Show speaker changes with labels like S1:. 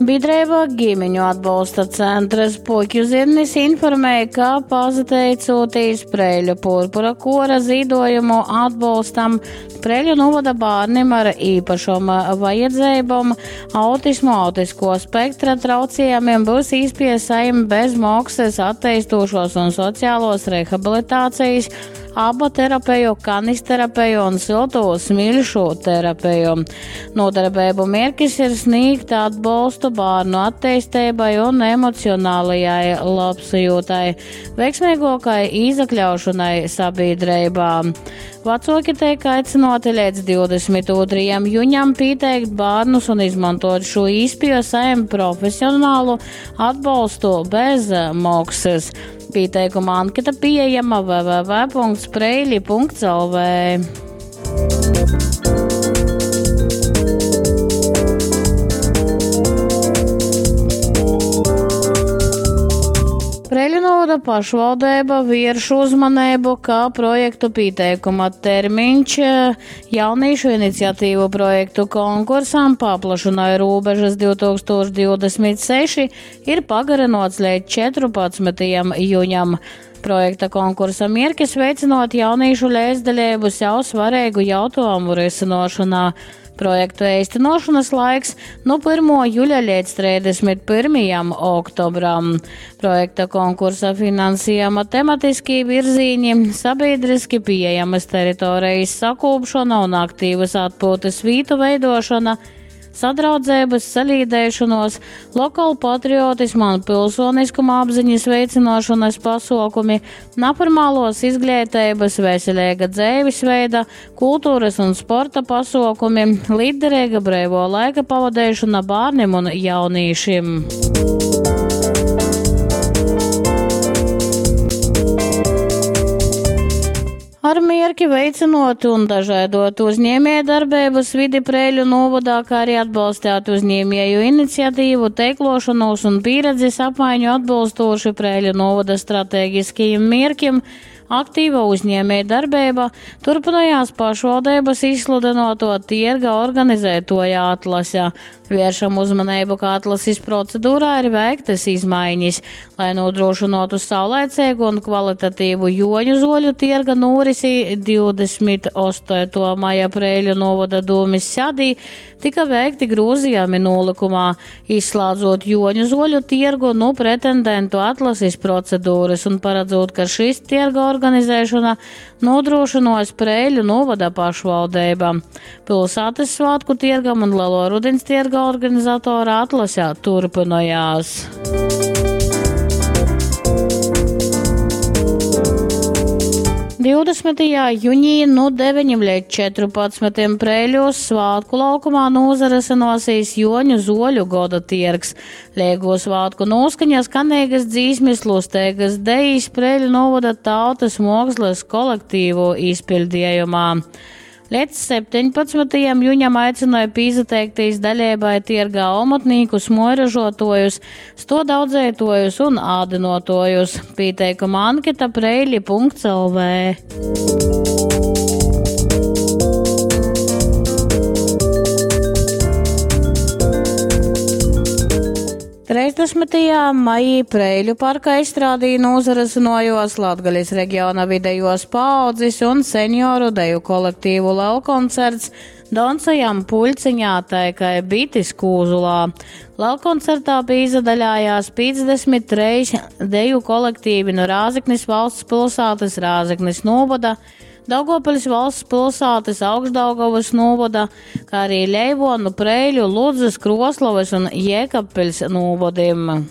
S1: Bīdreiba Ģimeņu atbolsta centrs Puķu zirnis informēja, ka pasateicūtīs Preiļu purpura kora zīdojumu atbolstam, Preiļu novada bārnim ar īpašom vajadzeibom, autismu, autisko spektra traucējumiem būs īspēja saņemt bez maksas attīstošos un sociālos rehabilitācijas aba terapiju, kanisterapiju un silto smilšu terapiju. Nodarbību mērķis ir sniegt atbalstu bērnu attīstībai un emocionālajai labsajūtai, veiksmīgākai izakļaušanai sabiedrībā. Vecāki tiek aicināti līdz 22. jūnijam pieteikt bērnus un izmantot šo īspēju saņemt profesionālu atbalstu bez maksas. Pieteikuma anketa pieejama www.preili.lv. Preļu novada pašvaldība vērš uzmanību, ka projektu pieteikuma termiņš jauniešu iniciatīvu projektu konkursam paplašināja robežas 2026 ir pagarinots līdz 14. jūnijam. Projekta konkursa mierkis veicinot jauniešu līdzdalību sev svarīgu jautājumu risinošanā. Projektu īstenošanas laiks no 1. jūļa līdz 31. oktobram. Projekta konkursa finansējuma tematiskī virzīņi, sabiedriski pieejamas teritorijas sakūpšana un aktīvas atpūtas vītu veidošana, sadraudzības, salīdēšanos, lokālu patriotismu un pilsoniskuma apziņas veicināšanas pasākumi, neformālos izglītības, veselīga dzīvesveida, kultūras un sporta pasākumi, līdderīga brīvo laika pavadīšana bērniem un jauniešiem. Ar mierki veicinot un dažādot uzņēmēju darbības vidi Preiļu novadā, kā arī atbalstīt uzņēmēju iniciatīvu, teiklošanos un pieredzes apmaiņu atbilstoši Preiļu novada stratēģiskajiem mierkim, aktīva uzņēmēja darbība turpinājās pašvaldības izsludinoto tirga organizētoja atlase. Vēršam uzmanību, ka atlases procedūrā ir veiktas izmaiņas, lai nodrošinātu saulaicīgu un kvalitatīvu joņu zoļu tirga norisi 28. maija Preiļu novada dūmis sēdī tika veikti grozījumi nolikumā, izslēdzot joņu zoļu tirgu no pretendentu atlases procedūras un paredzot, ka šis tirga organizēšana nodrošinos Preiļu novada pašvaldība. Pilsētas svētku tirgam un Lielo rudens tirga organizatora atlase turpinājās. 20. jūnijā no 9 līdz 14 Preiļos svētku laukumā nozaresenosīs Joņu zoļu goda tirgs. Liego svētku noskaņa skanīgas dzīsmes, lustēgas dejas Preiļu novada tautas mākslas kolektīvu izpildījumā. Līdz 17. jūnijam aicināja pīzateikties daļēbai tirgā omotnīkus, moiražotojus, stodaudzētojus un ādinotojus. Pieteikuma anketa preili.lv. 30. maijī Preiļu parka izstrādīja nozaresinojos Latgalis reģiona vidējos paaudzes un senioru deju kolektīvu lelkoncerts Doncajam puļciņā taikai bitis kūzulā. Lelkoncertā pīzadaļājās 53 deju kolektīvi no Rāzeknis valsts pilsētas, Rāzeknis novada, Daugavpils valsts pilsētas, Augšdaugavas novada, kā arī Leivonu, Preiļu, Ludzas, Kroslovas un Jēkabpils novadiem.